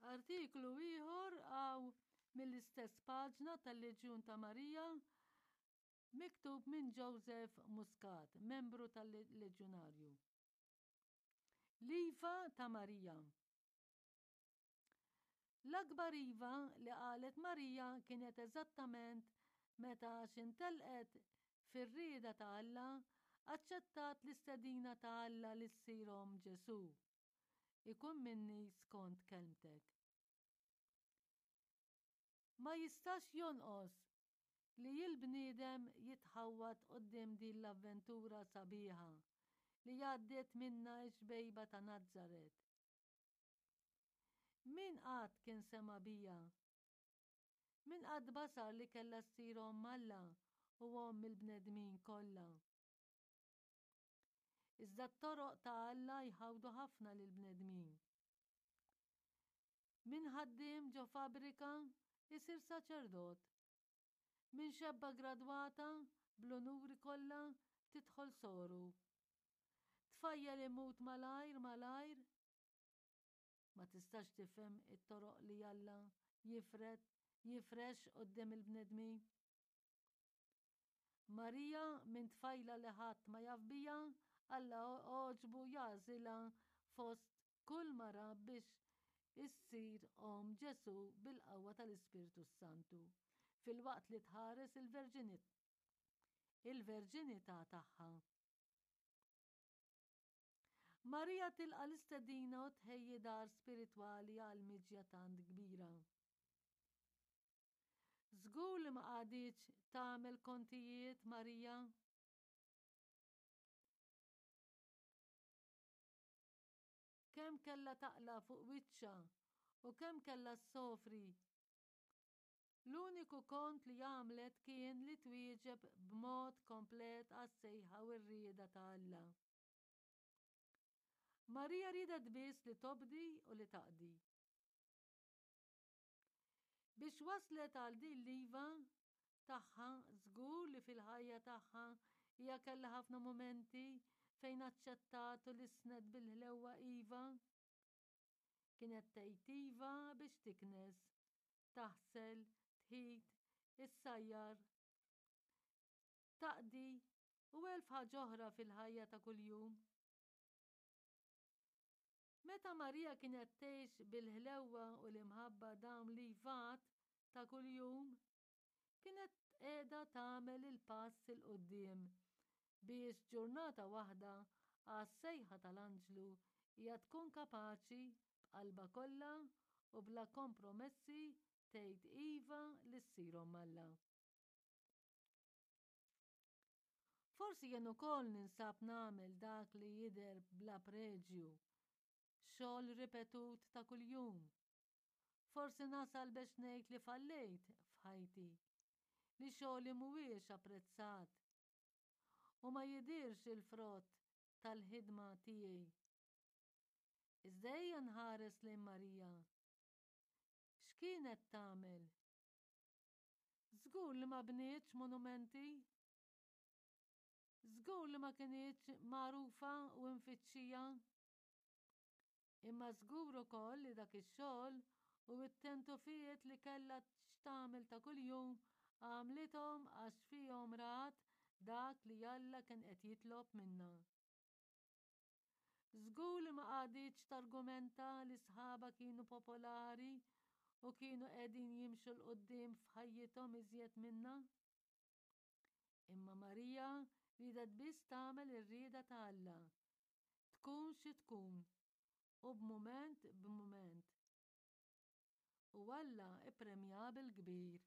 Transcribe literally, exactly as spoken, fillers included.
Artiklu ieħor hawn mill-istess paġna tal-Leġjun ta' Marija miktub minn Joseph Muscat, membru tal-Leġjunarju. L-Iva ta' Marija. L-akbar iva li qalet Marija kienet eżattament meta x'intelqet fir-rieda ta' Alla aċċettat l-istedina ta' Alla li ssir omm Ġesù. Ikun minni skont kelmtek. Ma jistax jonqos li l-bniedem jitħawwad quddiem din l-avventura sabiħa li għaddiet minnha x-xbejba ta' Nazaret. Min qatt kien sema' biha? Min qatt basar li kellha ssir omm Alla u omm il-bnedmin kollha? Iżda t-toroq ta' Alla jħawdu ħafna lill-bnedmin. Min ħaddiem ġo fabbrika isir saċerdot. Min xebba gradwata bl-unuri kollha tidħol soru. Tfajjel imut malajr malajr. Ma tistax tifhem it-toroq li Alla jifred jifrex quddiem il-bnedmin. Marija minn tfajla li ħadd ma jaf biha, Alla għoġbu jagħżilha fost kull mara biex issir omm Ġesù bil-qawwa tal-Ispirtu Santu, filwaqt li tħares il-verġinità tagħha. Marija tilqa' l-istedina u tħejji dar spiritwali għal miġja tant kbira. Żgur li ma qagħditx tagħmel kontijiet Marija. Kemm kellha taqla' fuq wiċċha u kemm kellha ssofri. L-uniku kont li għamlet kien li twieġeb b'mod komplet għas-sejħa u r-rieda ta' Alla. Marija riedet biss li tobdi u li taqdi. Biex waslet għal din l-iva tagħha, żgur li fil-ħajja tagħha hija kellha ħafna mumenti fejn aċċettat u lissnet bil-ħlewwa iva. Kienet tgħid iva biex tiknes, taħsel, tħit, issajjar, taqdi u elf ħaġa oħra fil-ħajja ta' kuljum. Meta Marija kienet tgħix bil-ħlewwa u l-imħabba dawn l-ivat ta' kuljum, kienet qiegħda tagħmel il-pass 'il quddiem biex ġurnata waħda għas-sejħa tal-anġlu hija tkun kapaċi b'qalbha kollha u bla kompromessi tgħid iva li ssir omm Alla. Forsi jien ukoll ninsab nagħmel dak li jidher bla preġju, xogħol ripetut ta' kuljum. Forsi nasal biex ngħid li fallejt f'ħajti, li xogħli mhuwiex apprezzat u ma jidhirx il-frott tal-ħidma tiegħi. Iżda ejja nħares lejn Marija. X'kienet tagħmel? Żgur li ma bnietx monumenti. Żgur li ma kinitx magħrufa u mfittxija. Imma żgur ukoll li dak ix-xogħol u t-tentufijiet li kellha x'tagħmel ta' kuljum għamlithom għax fihom rat dak li Alla kien qed jitlob minnha. Żgur li ma qagħditx targumenta li sħabha kienu popolari u kienu qegħdin jimxu 'l quddiem f'ħajjithom iżjed minnha. Imma Marija riedet biss tagħmel ir-rieda ta' Alla, tkun xi tkun, u b'mument b'mument. U Alla ippremjaha bil-kbir.